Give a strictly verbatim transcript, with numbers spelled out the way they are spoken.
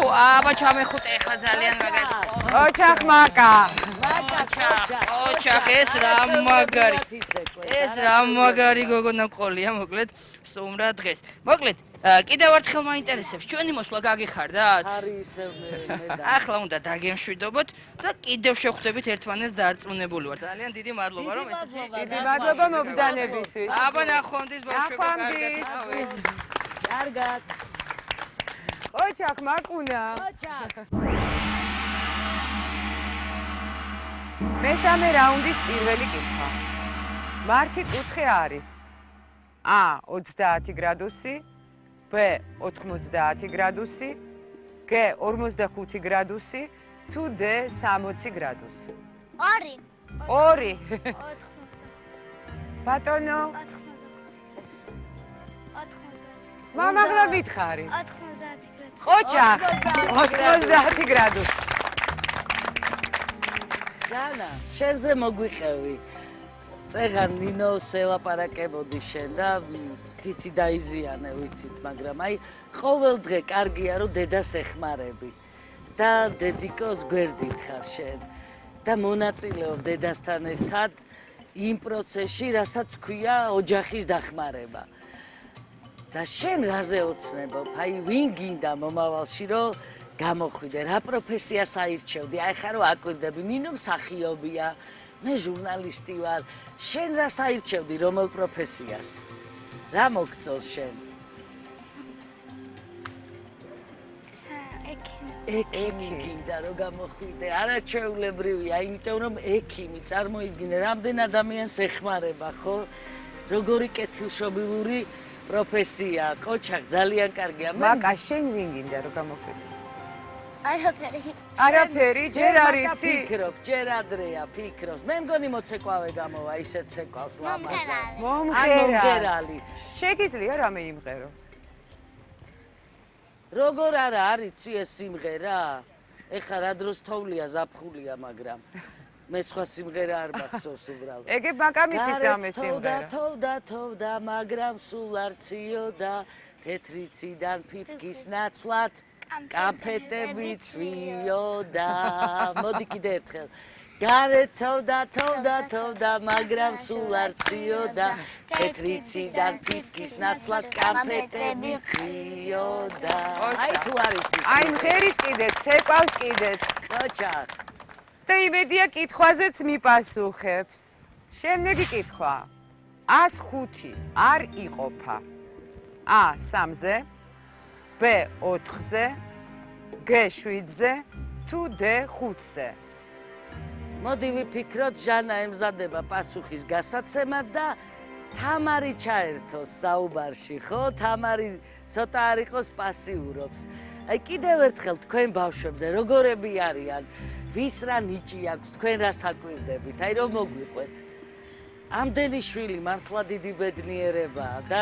აბა ჩამეხუტე ახლა ძალიან მაგარი. ოჩახ მაკა. ოჩახ ეს რა მაგარი. ეს რა მაგარი გოგონა ყოლია, მოკლედ სტუმრად დღეს. მოკლედ კიდევ ერთხელ მაინტერესებს, ჩვენი მოსვლა გაგიხარდათ? არის ისე მე. ახლა უნდა დაგემშვიდობოთ და კიდევ შევხვდებით ერთმანეთს დარწმუნებული ვარ. ძალიან დიდი მადლობა რომ ეს დიდი მადლობა მობრძანებისთვის. აბა ნახვამდის ბავშვებო, კარგად. კარგად. ოჩახ მაკუნა. ოჩახ. მესამე რაუნდის პირველი კითხვა. მართი კუთხე არის A ოცდაათი გრადუსი, B ოთხმოცდაათი გრადუსი, G ორმოცდახუთი გრადუსი, თუ D სამოცი გრადუსი. ორი. ორი. ოთხმოცდაათი. ბატონო. ოთხმოცდაათი. მამაღლა მითხარი. ოთხმოცდაათი გრადუსი. ოჩახ ოცდაათი გრადუსი. ჟანა, შენზე მოგვიყევი. წეღან ნინოს ელაპარაკებოდი შენ და თითი დაიზიანე ვიცით, მაგრამ აი ყოველ დღე კარგია რომ დედას ეხმარები და დედიკოს გვერდით ხარ შენ და მონაწილეობ დედასთან ერთად იმ პროცესში, რასაც ქვია ოჯახის დახმარება. და შენ რაზე ოცნებობ? აი ვინ გინდა მომავალში რომ გამოხვიდე, რა პროფესიას აირჩევდი? აი ხა რომ აკვირდები, ნინო მსახიობია, მე ჟურნალისტი ვარ. შენ რას აირჩევდი, რომელ პროფესიას? რა მოგწონს შენ? ექიმი გინდა რომ გამოხვიდე. არაჩვეულებრივია, იმიტომ რომ ექიმი წარმოიდგინე, რამდენ ადამიანს ეხმარება, ხო? როგორი კეთილშობილური პროფესია, ყოჩახ ძალიან კარგია. მაკა შენ ვინ გინდა რომ გამოხვიდე? არაფერი. არაფერი, ჯერ არ იცი. ფიქრობ, ჯერ ადრეა, ფიქრობს. მე მგონი მოცეკვავე გამოვა, ისეთ ცეკვავს ლამაზად. მომღერალი. შეგიძლია რამე იმღერო? როგორ არა არიცი ეს სიმღერა? ეხლა რა დროს თოვლია, ზაფხულია, მაგრამ მე სხვა სიმღერა არ მახსოვს უბრალოდ. ეგე მაკამ იცის რამე სიმღერა. თოვდა, თოვდა, მაგრამ სულ არ ციოდა, თეთრი ციდან ფიფკის ნაცვლად. კამფეტები წვიოდა. მოდი კიდე ერთხელ. გარეთ თოვდა, თოვდა, თოვდა, მაგრამ სულ არ ციოდა. თეთრი ციდან ფიფკის ნაცვლად კამფეტები წვიოდა. აი თუ არ იცის. აი მღერის კიდეც, ცეკვავს კიდეც. ოჩახ. და იმედია კითხვაზეც მიპასუხებს. შემდეგი კითხვა. ას ხუთი არ იყოფა. A სამზე, B ოთხზე, G შვიდზე, თუ D ხუთზე. მოდი ვიფიქროთ, ჟანა ემზადება პასუხის გასაცემად და თამარი ჩაერთოს საუბარში, ხო? თამარი ცოტა არ იყოს პასიურობს. აი კიდევ ერთხელ თქვენ ბავშვებზე როგორები არიან? ვის რა ნიჭი აქვს, თქვენ რას აკვირდებით? აი რომ მოგვიყვეთ. ამდენი შვილი მართლა დიდი ბედნიერებაა და